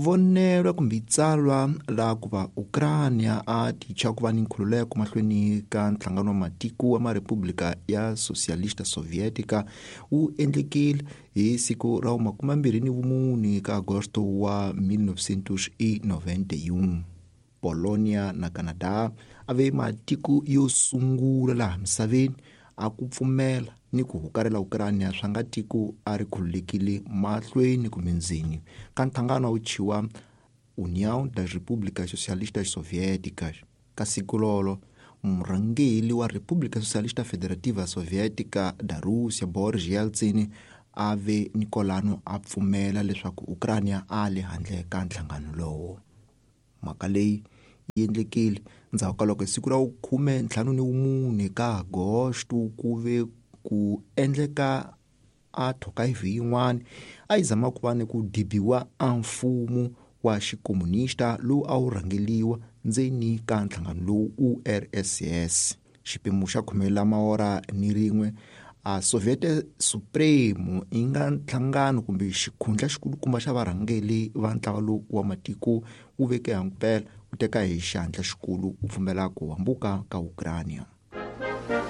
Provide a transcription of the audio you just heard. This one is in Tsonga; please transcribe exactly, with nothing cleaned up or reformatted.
Vonelo kumbe tsalwa la ku va Ukraina a ticha ku va ni nkhululeko mahlweni ka nhlangano wa matiko wa Marepublika ya Socialista Sovietica wu endlekile hi siku ra makumembirhi ni vumune ka Agosto wa mil novecentos e noventa e um. Polonia na Canada a ve matiko yo sungula laha misaveni a ku pfumela ni ku hukarela Ukraina swa nga tiko a ri khululekile mahlweni kumbe ndzeni ka nhlangano wu chiwa União das Repúblicas Socialistas Soviéticas. Ka siku lolo murhangeri wa República Socialista Federativa Soviética da Rússia Boris Yeltsin a ve ni kolano a pfumela leswaku Ukraina a le handle ka nhlangano lowo. Mhaka leyi yi endlekile ndzhaku ka loko hi siku ra khume ntlhanu ni mune ka Agosto ku ve ku endleka a thokaivi yin'wana a yi zama ku va ni ku dibiwa a mfumo wa xikomunista lowu a wu rhangeliwa ndzeni ka nhlangano lowu U R S S. Xipimo xa khume la maora ni rin'we a Soviet Supreme yi nga nhlangano kumbe xikhundla xikulukumba xa varhangeri va ntlawa lowu wa matiko wu veke hampela wu teka hi xandla xikulu ku pfumela ku hambuka ka Ukraina.